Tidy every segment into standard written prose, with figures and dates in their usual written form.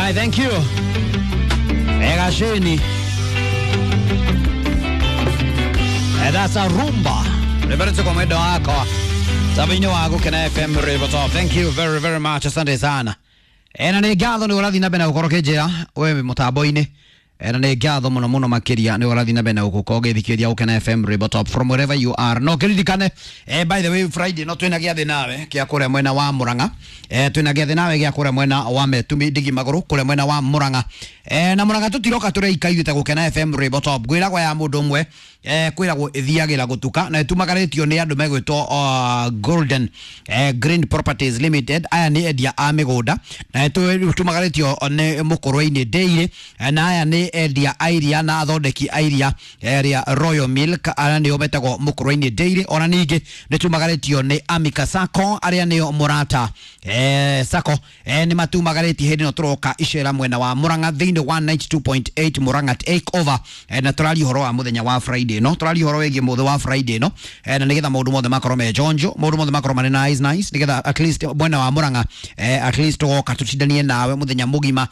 Alright, thank you. Egasheni. That's a rumba. Reverence kwa mwendo wako. Sabini wa Gukena FM River Top. Thank you very very much. Asante sana. Ena nĩ ngatho nĩ ũrathiĩ na mbere na gũkorwo ũkĩnjĩra we mũtambo-inĩ. Ena nĩ ngatho mũno mũno makĩria nĩ ũrathiĩ na mbere na gũkorwo ũgĩthikĩrĩria Gukena FM River Top from wherever you are. No kĩririkane, by the way, Friday no twĩna gĩathĩ nawe kĩa kũrĩa mwena wa Murang'a. Twĩna gĩathĩ nawe gĩa kũrĩa mwena wa Metumi Ndigi Magũrũ kũrĩa mwena wa Murang'a. Na Murang'a tũtiroka tũreika ithuĩ ta Gukena FM River Top. Ngwĩragwo ya mũndũ ũmwe, kwĩragwo ĩthiagĩra gũtuka na ĩtumagarĩtio nĩ andũ megwĩtwo Golden Green Properties Limited. Aya nĩ endia a mĩgũnda na ĩtumagarĩtio nĩ Mũkũrwe-inĩ Dairy, na aya nĩ endia a iria na athondeki a iria rĩa Royal Milk, aya nĩo metagwo Mũkũrwe-inĩ Dairy. Ona ningĩ nĩ tumagarĩtio nĩ Amika Sacco, arĩa nĩo Mũrata Sacco, nĩ matumagarĩtie hĩndĩ ĩno tũroka icera mwena wa Murang'a thĩinĩ wa 92.8 Murang'a take over, na tũraria ũhoro wa mũthenya wa Friday no tũraria ũhoro wĩgiĩ mũthĩ wa Friday no, na nĩgetha maũndũ mothe makorwo me jonjo, maũndũ mothe makorwo marĩ nice nice, nĩgetha at least mwena wa Murang'a, at least tũgoka tũcindanie nawe mũthenya mũgima,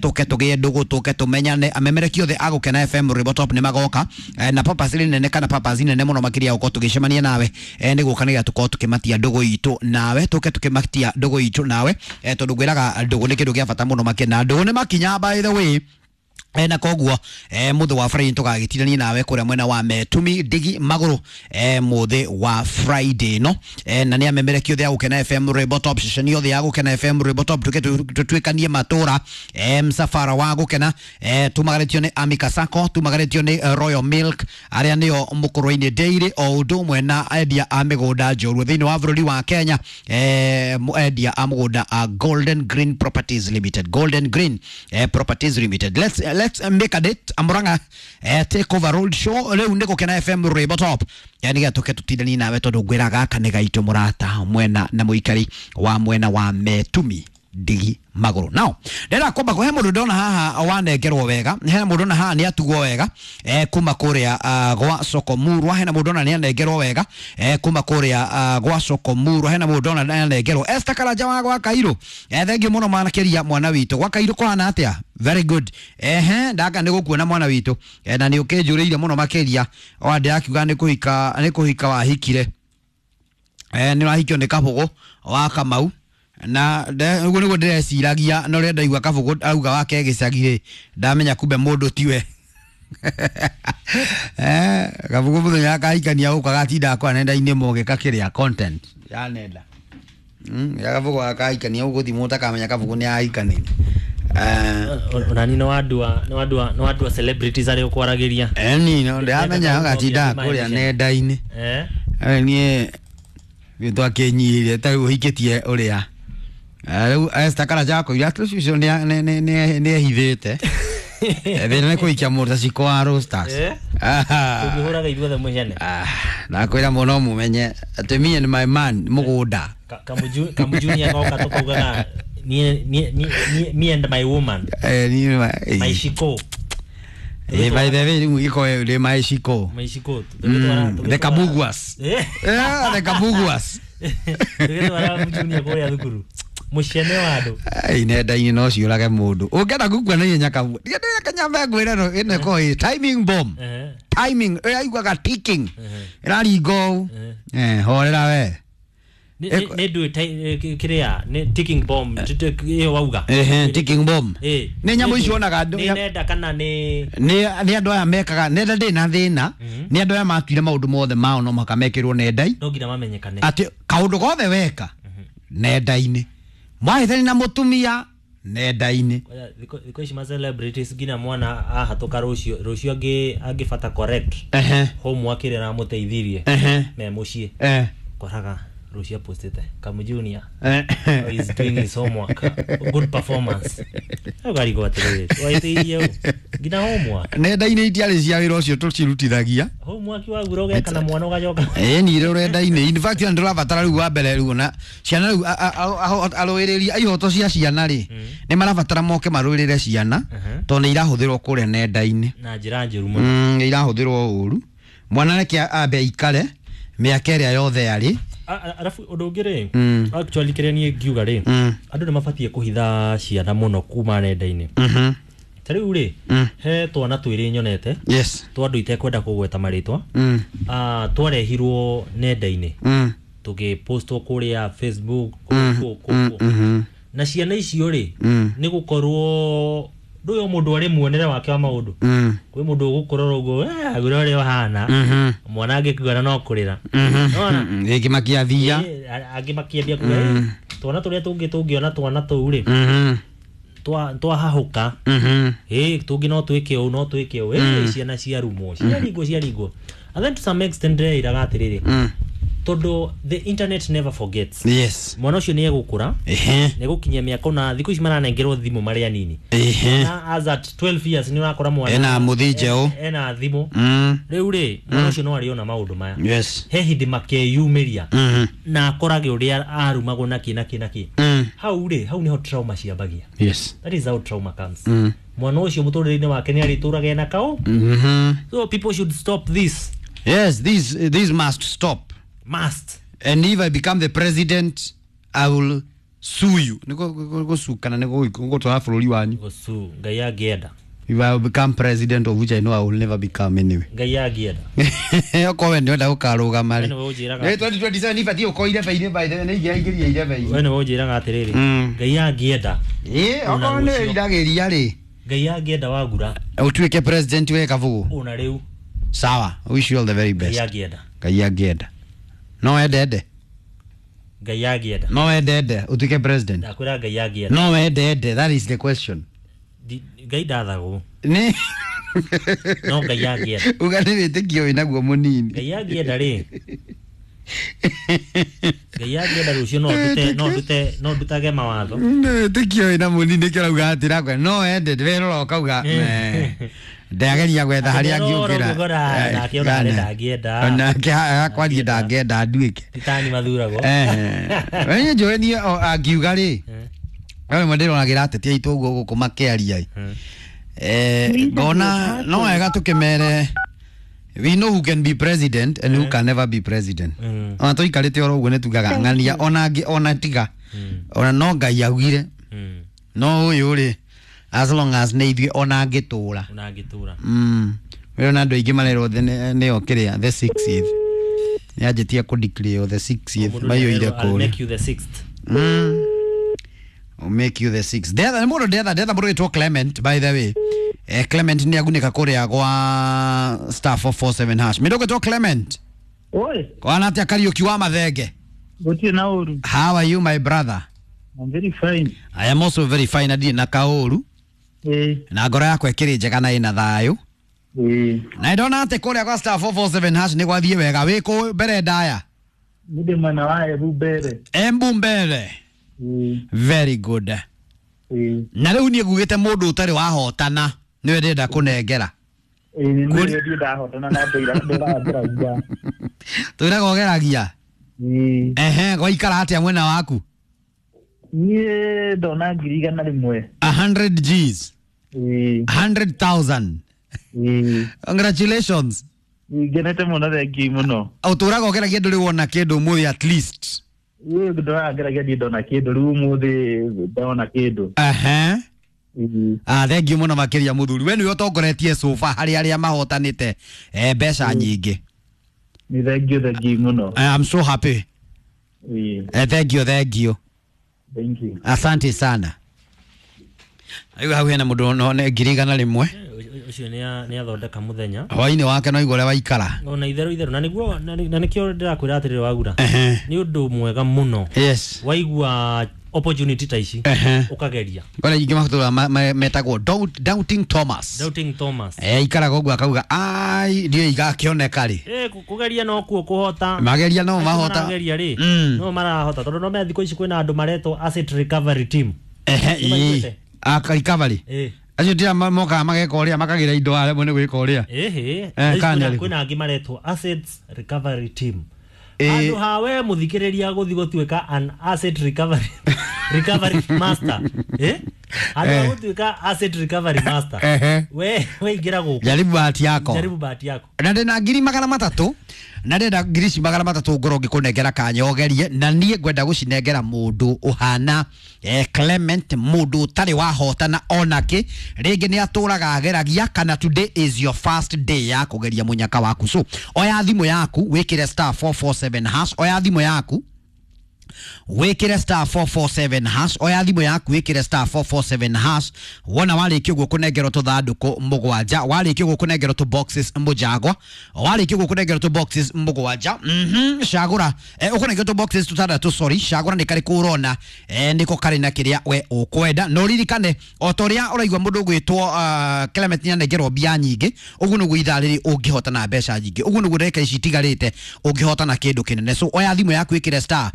tũke tũgĩe ndũgũ, tũke tũmenyane. Amemereki othe a Gukena FM River Top nĩ magoka, na purpose nene kana purpose nene mũno makĩria gũkorwo tũgĩcemania nawe, nĩ gũka nĩgetha tũkorwo tũkĩmatia ndũgũ itũ nawe, tũke tũkĩmatia ndũgũ itũ nawe, tondũ ngwĩraga ndũgũ nĩ kĩndũ kĩa bata mũno makĩria, na ndũgũ nĩ makinya by the way. Na koguo, mũthĩ wa Friday tũgagĩtirania nawe kũrĩa mwena wa Metumi Ndigi Magũrũ, mũthĩ wa Friday no, na nĩ amemereki othe a Gukena FM Rwĩmbo Top, ceceni yothe ya Gukena FM Rwĩmbo Top, tũke tũtuĩkanie matũra, msafara wa Gukena, tumagarĩtio nĩ Amika Sacco, tumagarĩtio nĩ Royal Milk, arĩa nĩo Mũkũrwe-inĩ Dairy, o ũndũ ũmwe na endia a mĩgũnda njorua thĩinĩ wa bũrũri wa Kenya, endia a mũgũnda a Golden Green Properties Limited, Golden Green Properties Limited. Let's make a date, Murang'a take over road show rĩu nĩ Gukena FM Rwĩmbo Top, nĩgetha tũke tũtindanie nawe tondũ ngwĩra gaka nĩ gaitũ mũrata mwena na mũikari wa mwena wa Metumi Ndigi Magũrũ. Now ndĩrenda kwamba kũhe mũndũ ndona haha wanengerwo wega, hena mũndũ ndona haha nĩ atugwo wega, kuma kũrĩa gwa Soko Murwa, hena mũndũ ndona nĩ anengerwo wega, kuma kũrĩa gwa Soko Murwa, hena mũndũ ndona nĩ anengerwo Esther Karanja wa gwa Kairũ, thengiũ mũno makĩria mwana witũ gwa Kairũ kũhana atĩa? Very good. Ehe, ndaka nĩ gũkuona mwana witũ, na nĩ ũkĩnjũrĩire mũno makĩria o ndĩrakiuga nĩ kũhika, nĩ kũhika wahikire, nĩ ũrahikio nĩ Kabũgũ wa Kamau, na ũguo nĩguo ndĩreciragia, na ũrĩa ndaigua Kabũgũ auga wake gĩcagi rĩ, ndamenya kumbe mũndũ tiwe. Kabũgũ mũthenya akahikania gũkũ agatinda akwa nenda-inĩ mũgĩka kĩrĩa content ya nenda, ya Kabũgũ akahikania gũkũ thimũ ũtakamenya Kabũgũ nĩ ahikanĩire. Onani nĩ wandua celebrities arĩa ũkwaragĩria. Eni no ndĩramenya agatinda kũrĩa nenda-inĩ. Niĩ twakĩnyihire ta rĩu ũhikĩtie ũrĩa rĩu Esther Karanja akoirie atĩ ũcio nĩ ehithĩte thĩna nĩ kũhikia mũndũ ta Shiko wa Roasters. Tũngĩhũraga ithuothe mũcene. Ndakwĩra mũno mũmenye atĩ me and my man mũgũnda. Kamujunia goka tũkaugaga me and my woman. My Shiko. By the way, rĩu gĩko rĩ my Shiko. My Shiko. The Kabuguas. The Kabuguas. Tũgĩtwara Mujunia kũrĩa thukuru mũcene wa andũ. Ai, nenda-inĩ no ciũrage mũndũ ũngĩenda gũkua na ihenya kabu kanyambe ngwĩre no ĩno ĩkoragwo ĩ timing bomb, timing ĩraiguaga ticking ĩraringa ũũ, horera we. Nĩ ndũĩ kĩrĩa nĩ ticking bomb ĩyo wauga. Ehe, ticking bomb nĩ nyamũ icio wonaga nĩ nenda kana nĩ nĩ andũ aya mekaga nenda ndĩ na thĩna, nĩ andũ aya matuire maũndũ mothe mao no mũhaka mekĩrwo nenda-inĩ. No nginya mamenyekane. Atĩ kaũndũ gothe weka nenda-inĩ, mwahĩtani na mũtumia nenda-inĩ. Thikũ ici ma celebrities nginya mwana ahatũka rũciũ rũciũ angĩbata correct homework ĩrĩa aramũteithirie me mũciĩ, koraga rũciũ apostĩte Kamujunia is doing his homework, good performance. Ũkarigwo atĩrĩrĩ, waiteithie ũ nginya homework? Nenda-inĩ itiarĩ cia wĩra ũcio tũcirutithagia. Homework wagura ũgeka na mwana ũgacoka. Ĩni rũrenda-inĩ, in fact ndĩrabatara rĩu wa mbere rĩu na ciana rĩu arũĩrĩri a ihoto cia ciana rĩ, nĩ marabatara moke marũĩrĩre ciana tondũ nĩ irahũthĩrwo kũrĩa nenda-inĩ na njĩra njũru mũno. Nĩ irahũthĩrwo ũru. Mwana reke ambe aikare mĩaka ĩrĩa yothe arĩ Arabu ũndũ ũngĩ rĩ, actually kĩrĩa niĩ ngiuga rĩ, andũ nĩ mabatiĩ kũhitha ciana mũno kuma nenda-inĩ. Ta rĩu rĩ, he twana twĩrĩ nyonete, twa andũ itekwenda kũgweta marĩtwa. Twarehirwo nenda-inĩ, tũgĩpostwo kũrĩa Facebook, kũ kũ kũ. Na ciana icio rĩ, nĩ gũkorwo ndũyũ mũndũ arĩ muonere wake wa maũndũ. Kwĩ mũndũ ũgũkũrora ũguo, "Eh, agũra ũrĩa ũhana." Mwana angĩkuona no kũrĩra. Nĩwona? Gĩkĩmakia thia. Angĩ makĩambia kuga, "Eh, twana tũrĩa tũngĩ tũngĩona twana tũu rĩ, twahahũka, ĩ tũngĩ no twĩke ũũ, no twĩke ũũ." Ĩ ciana ciarumwo, ciaringwo, ciaringwo. And then to some extent ndĩreiraga atĩrĩrĩ, tondũ the internet never forgets, mwana ũcio nĩ egũkũra, nĩ egũkinyia mĩaka, ona thikũ ici maranengerwo thimũ marĩ anini. Na as at 12 years nĩ ũrakora mwana Ena mũthĩ njeũ. Ena thimũ. Rĩu rĩ, mwana ũcio no arĩona maũndũ maya. He hĩndĩ makeyumĩria na akorage ũrĩa arumagwo nakĩ nakĩ nakĩ. Hau rĩ, hau nĩho trauma ciambagia. That is how trauma comes. Mwana ũcio mũtũrĩre-inĩ wake nĩ arĩtũraga ena kaũ. So people should stop this. Yes, this must stop. Must. And if I become the president, I will sue you. Niko gũcukana nĩ gũtwara bũrũri wanyu. Gũcu Ngai angĩenda. If I will become president, of which I know I will never become anyway. Ngai angĩenda. Okorwo we nĩwenda gũkarũgama rĩ. We nĩwe ũnjĩraga. Nĩ 2027 ibatiĩ gũkorwo irebe-inĩ, by the way, nĩ ingĩraingĩria irebe-inĩ. We nĩwe ũnjĩraga atĩrĩrĩ, Ngai angĩenda. Ĩ, okorwo Ona nĩ rũciũ. wĩriragĩria rĩ, Ngai angĩenda, wagura. Ũtuĩke president we Kabugu. Ona rĩu. Sawa, wish you all the very Ngai best. angĩenda. Ngai angĩenda. No wende ende. Ngai angĩenda. No wende ende ũtuĩke president. Ndakwĩra Ngai angĩenda. No wende ende, that is the question. Ngai ndathagwo. Nĩ No Ngai angĩenda. Uga nĩ wĩtĩkio wĩnaguo mũnini. Ngai angĩenda rĩ, Ngai angĩenda, rũciũ no ndute, no ndute, no ndutage mawatho. Nĩ wĩtĩkio wĩna mũnini, nĩkĩo ũrauga atĩ rakwe no wende werora ũkauga, ndageria gwetha harĩa Werora angĩũkĩra. ũngĩkora nake ona arĩ ndangĩenda. Nake akwarie ndangĩenda nduĩke. Titani mathuragwo. Wenye njũĩ niĩ angiuga rĩ, no rĩmwe ndĩronagĩra ateti aitũ ũguo gũkũ makĩaria ĩ. Ngona no wega tũkĩmere, we know who can be president and who can never be president. Ona tũikarĩte oro ũguo nĩ tugaga ng'ania ona angĩ ona tiga ona no Ngai augire. No ũyũ rĩ, as long as nĩ ithuĩ, ona angĩtũra. Ona angĩtũra. Wĩrona andũ aingĩ marerwo nĩo kĩrĩa the sixth nĩ anjĩtie kũ declare the sixth. Mũndũ maiyũire nĩarerwo, "I'll kũrĩa. make you the sixth." I'll make you the sixth. Ndetha nĩ mũndũ, ndetha ndetha mũndũ wĩtwo Clement, by the way. Clement nĩ agunĩka kũrĩa gwa *447#. Mũndũ ũgwĩtwo Clement. Oi, Kwana atĩa, Kariũki wa Mathenge? Gũtirĩ na ũru. How are you, my brother? I'm very fine. I am also very fine, na ndirĩ na kaũru. Na ngoro yakwa ĩkĩrĩ njega na ĩna thayũ. Na ndona atĩ kũrĩa gwa *447# nĩ gwathiĩ wega, wĩ kũ mbere ndaya? Nĩ ndĩ mwena wa Embu mbere. Embu mbere. Very good. Na rĩu niĩ ngugĩte mũndũ ũtarĩ wahotana nĩwe ndĩrenda kũnengera. Ĩĩ, nĩ ndirĩ ndahotana na ndĩra ndĩrauga. Twĩraga ũgeragia. Ehe, gwaikara atĩa mwena waku? Niĩ ndona 100,000. 100 Gs. 100,000. Congratulations. Ngenete mũno, thengiũ mũno. Ũtũraga ũgeragia, ndũrĩ wona kĩndũ ũmũthĩ at least? Ĩĩ, ndũraga ngeragia, ndiĩ ndona kĩndũ, rĩu ũmũthĩ ndona kĩndũ. Ehe. Ah, thengiũ mũno makĩria, mũthuri. We nĩwe ũtongoretie sofa harĩ arĩa mahotanĩte mbeca nyingĩ. Nĩ thengiũ, thengiũ mũno. I am so happy. Thengiũ, thengiũ. Thank you. Asante sana. Rĩu hau hena mũndũ no nĩ 100,000. Ũcio nĩ athondeka mũthenya. Hwainĩ wake no igũrĩa waikara. Ona itherũ itherũ, na nĩguo na nĩkĩo ndĩrakwĩra atĩrĩrĩ, wagura, nĩ ũndũ mwega mũno waigua opportunity ta ici, ũkageria. Kore ingĩ matũra metagwo Doubting Thomas. Doubting Thomas. Ikaraga ũguo akauga ai ndiũĩ igakĩoneka rĩ. Kũgeria no kuo kũhota. Mageria no Acio mahota. marageria rĩ, no marahota, tondũ no menya thikũ ici kwĩna andũ maretwo asset recovery team. Ehe. Nĩ maiguĩte? Ii. Aka recovery. Acio tira mokaga mageka ũrĩa makagĩra indo aremwo nĩ gwĩka ũrĩa. Ĩhĩ. Kana nĩ arĩkũ? Kwĩna angĩ maretwo assets recovery team. Handũ ha we mũthikĩrĩria gũthiĩ gũtuĩka an asset recovery master, eh? Handũ ha gũtuĩka asset recovery master, we weingĩra gũkũ. Jaribu bahati yako. Jaribu bahati yako. Na ndĩna 300,000 na ndĩrenda ngiri ici 300 ngorwo ngĩkũnengera kanya ũgerie, na niĩ ngwenda gũcinengera mũndũ ũhana Clement, mũndũ ũtarĩ wahotana onakĩ, rĩngĩ nĩ atũraga ageragia, kana today is your first day ya kũgeria mũnyaka waku. So oya thimũ yaku wĩkĩre star 447 hash, oya thimũ yaku wikire star 447 hash, oya thimũ yaku wikire star 447 hash. Wona warĩkia ũguo kũnengerwo tũthandũkũ mũgwanja, warĩkia ũguo kũnengerwo tũ boxes mũjagwa, warĩkia ũguo kũnengerwo tũ boxes mũgwanja, cagũra ũkũnengerwo tũ boxes tũtandatũ, sorry, cagũra nĩ karĩkũ ũrona nĩko karĩ na kĩrĩa we ũkwenda. Na ũririkane o ta ũrĩa ũraigua mũndũ ũgwĩtwo Clement nĩanengerwo mbia nyingĩ, ũguo nĩguo ithaa rĩrĩ ũngĩhota na mbeca nyingĩ, ũguo nĩguo ndagĩka ici itigarĩte ũngĩhota na kĩndũ kĩnene. So oya thimũ yaku wĩkĩre star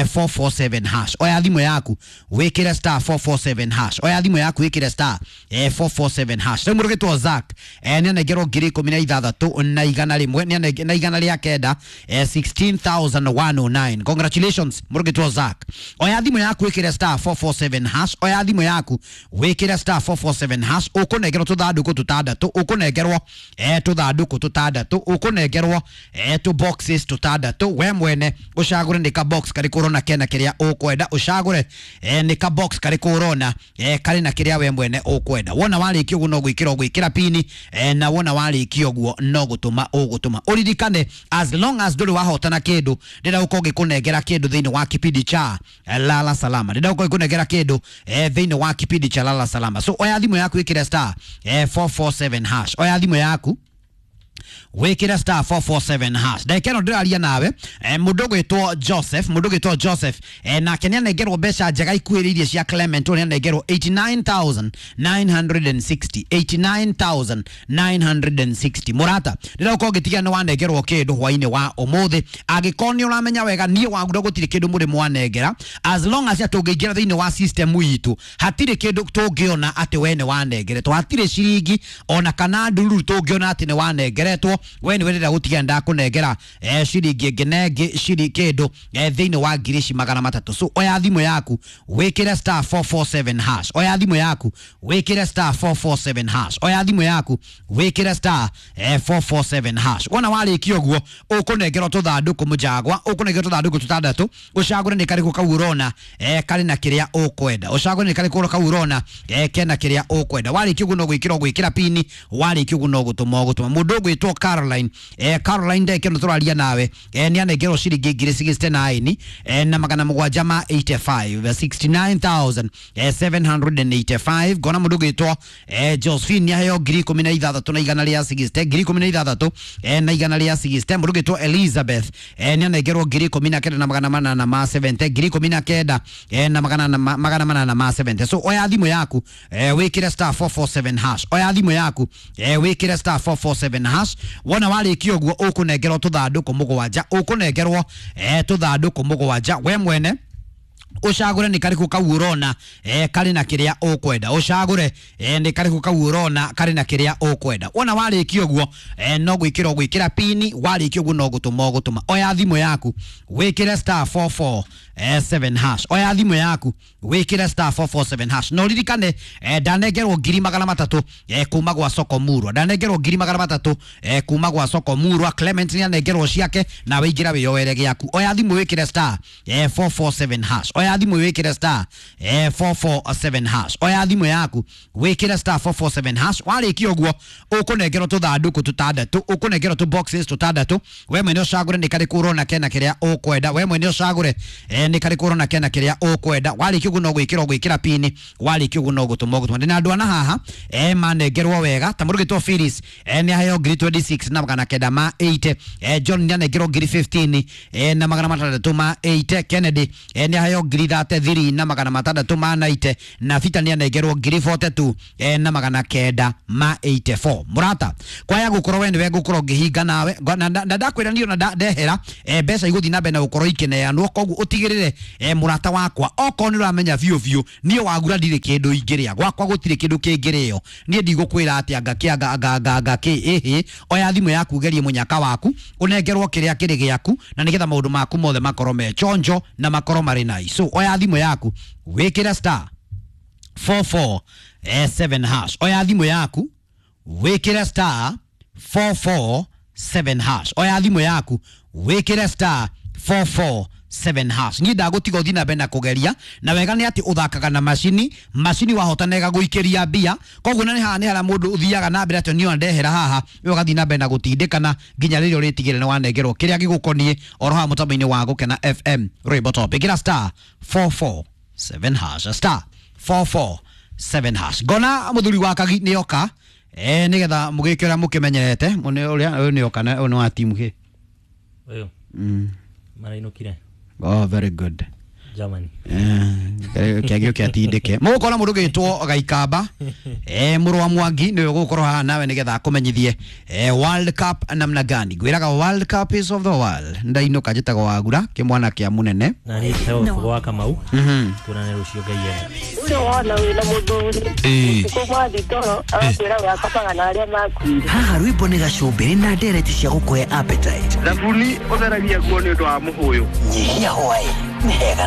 447 hash, oya thimũ yaku wĩkĩre star 447 hash, oya thimũ yaku wĩkĩre star 447 hash. Rĩu mũndũ ũgwĩtwo Zack nĩanengerwo 16,100 na 900, 16,109. Congratulations mũndũ ũgwĩtwo Zack. Oya thimũ yaku wĩkĩre star 447 hash, oya thimũ yaku wĩkĩre star 447 hash, ũkũnengerwo tũthandũkũ tũtandatũ, ũkũnengerwo tũthandũkũ tũtandatũ, ũkũnengerwo tũ boxes tũtandatũ. We mwene ũcagũre nĩ ka box karĩkũ ũrona kena kĩrĩa ũkwenda, ũcagũre nĩ ka box karĩkũ ũrona karĩ na kĩrĩa we mwene ũkwenda. Wona warĩkia ũguo no gwĩkĩra ũgwĩkĩra pini, na wona warĩkia ũguo no gũtũma ũgũtũma. Ũririkane as long as ndũrĩ wahotana kĩndũ, ndĩrenda gũkorwo ngĩkũnengera kĩndũ thĩinĩ wa kipindi cha Lala Salama, ndĩrenda gũkorwo ngĩkũnengera kĩndũ thĩinĩ wa kipindi cha Lala Salama. So oya thimũ yaku ĩkĩre star 447 hash, oya thimũ yaku wikire star 447 hash. Ndagĩka ĩno ndĩraria nawe mũndũ ũgwĩtwo Joseph, mũndũ ũgwĩtwo Joseph nake nĩanengerwo mbeca njega ikuhĩrĩirie cia Clement, ũrĩa nĩanengerwo 89,960, 89,960. Mũrata, ndĩrenda gũkorwo ngĩtiga nĩ wanengerwo kĩndũ hwainĩ wa ũmũthĩ. Angĩkorwo nĩ ũramenya wega niĩ wagura gũtirĩ kĩndũ mũrĩ mwanengera, as long as tũngĩingĩra thĩinĩ wa system itũ hatirĩ kĩndũ tũngĩona atĩ we nĩ wanengeretwo, hatirĩ ciringi ona kana ndururu tũngĩona atĩ nĩ wanengeretwo. We nĩ wendera gũtiga ndakũnengera ciringi ĩngĩ na ĩngĩ ciri kĩndũ thĩinĩ wa ngiri ici 300. So oya thimũ yaku wĩkĩre star 447 hash, oya thimũ yaku wĩkĩre star 447 hash, oya thimũ yaku wĩkĩre star 447 hash. Wona warĩkia ũguo ũkũnengerwo tũthandũkũ mũjagwa, ũkũnengerwo tũthandũkũ tũtandatũ, ũcagũre nĩ karĩkũ kau ũrona karĩ na kĩrĩa ũkwenda, ũcagũre nĩ karĩkũ kau ũrona kena kĩrĩa ũkwenda. Warĩkia ũguo no gwĩkĩra ũgwĩkĩra pini, warĩkia ũguo no gũtũma ũgũtũma. Mũndũ ũgwĩtwo Caroline, Caroline ndagĩka ĩno tũraria nawe nĩ anengerwo ciringi 69,785, 69,785. Ngona mũndũ ũgwĩtwo Josephine nĩ aheo 16,160, 16,160. Mũndũ ũgwĩtwo Elizabeth nĩ anengerwo 19,870, 19,870. So oya thimũ yaku wĩkĩre star 447 hash, oya thimũ yaku wĩkĩre star 447 hash. Wona warĩkia ũguo ũkũnengerwo tũthandũkũ mũgwanja, ũkũnengerwo tũthandũkũ mũgwanja. We mwene ũcagũre nĩ karĩkũ kau ũrona karĩ na kĩrĩa ũkwenda, ũcagũre nĩ karĩkũ kau ũrona karĩ na kĩrĩa ũkwenda. Wona warĩkia ũguo no gwĩkĩra ũgwĩkĩra pini, warĩkia ũguo no gũtũma ũgũtũma. Oya thimũ yaku wĩkĩre star 447 hash, oya thimũ yaku wĩkĩre star 447 hash. Na ũririkane ndanengerwo 300,000 kuma gwa Soko Murwa, ndanengerwo 300,000 kuma gwa Soko Murwa. Clement nĩanengerwo ciake, nawe ingĩra wĩyoere gĩaku. Oya thimũ wĩkĩre star 447 hash, oya thimũ wĩkĩre star 447 hash, oya thimũ yaku wĩkĩre star 447 hash. Warĩkia ũguo ũkũnengerwo tũthandũkũ tũtandatũ, ũkũnengerwo tũ boxes tũtandatũ. We mwene ũcagũre nĩ karĩkũ ũrona kena kĩrĩa ũkwenda, we mwene ũcagũre nĩ karĩkũ ũrona kena kĩrĩa ũkwenda. Warĩkia ũguo no gwĩkĩra ũgwĩkĩra pini, warĩkia ũguo no gũtũma ũgũtũma. Ndĩna andũ ana haha manengerwo wega ta mũndũ ũgwĩtwo Phyllis nĩ aheo 26,980, John nĩ anengerwo 15,680, Kennedy nĩ aheo 33,690, na Peter nĩ anengerwo 42,984. Mũrata, kwaya gũkorwo we nĩwe ngũkorwo ngĩhinga nawe na ndakwĩra niĩ ona ndehera mbeca igũthiĩ na mbere na gũkorwo ikĩneanwo, koguo ũtigĩrĩre mũrata wakwa okorwo nĩ ũramenya biũ biũ niĩ wagura ndirĩ kĩndũ ingĩrĩa, gwakwa gũtirĩ kĩndũ kĩngĩrĩo, niĩ ndigũkwĩra atĩ anga kĩ anga anga anga anga kĩ ĩhĩ. Oya thimũ yaku ũgerie mũnyaka waku ũnengerwo kĩrĩa kĩrĩ gĩaku, na nĩgetha maũndũ maku mothe makorwo me chonjo na makorwo marĩ nice. So oya thimũ yaku wĩkĩre star 44 7 hash. Oya thimũ yaku wĩkĩre star 447 hash. Oya thimũ yaku wĩkĩre star 447 hash. Niĩ ndagũtiga ũthiĩ na mbere na kũgeria, na wega nĩ atĩ ũthakaga na macini. Macini wahota ĩgagũikĩria mbia, koguo na nĩ haha nĩ harĩa mũndũ ũthiaga na mbere atĩ niĩ ndehera haha, we ũgathiĩ na mbere na gũtindĩkana nginya rĩrĩa ũrĩtigĩra nĩ wanengerwo kĩrĩa gĩgũkoniĩ oro haha mũtambo-inĩ wa Gũkena FM rwĩmbo top. Ĩkĩra star 447 hash, star 447 hash. Ngona mũthuri wa Kagi nĩ oka, nĩgetha mũgĩke ũrĩa mũkĩmenyerete. Ũrĩa ũyũ nĩ oka na ũyũ nĩ wa timu kĩ? Ũyũ marainũkire. Oh, very good. Germany. Kĩagio kĩatindĩke mũgũkora mũndũ gĩtwo Gaikamba, mũrũ wa Mwangi nĩwe ũgũkorwo haha nawe nĩgetha akũmenyithie World Cup namna gani. Ngwĩraga World Cup is of the world. Ndainũka njĩtagwo Wagura kĩmwana kĩa mũnene. Na niĩ njĩtagwo Gĩbũgũ wa Kamau. Tuonane rũciũ Ngai enda. Ũcio wona wĩna mũthuri Ĩĩ. ũtukũ mwathi toro agakwĩra we akomaga na arĩa makuire. Haha rwĩmbo nĩ gacũmbĩrĩ na ndereti cia gũkũhe appetite. Thabuni ũtheragia nguo nĩ ũndũ wa mũhũyũ. Nyihia hwaĩ nĩ hega na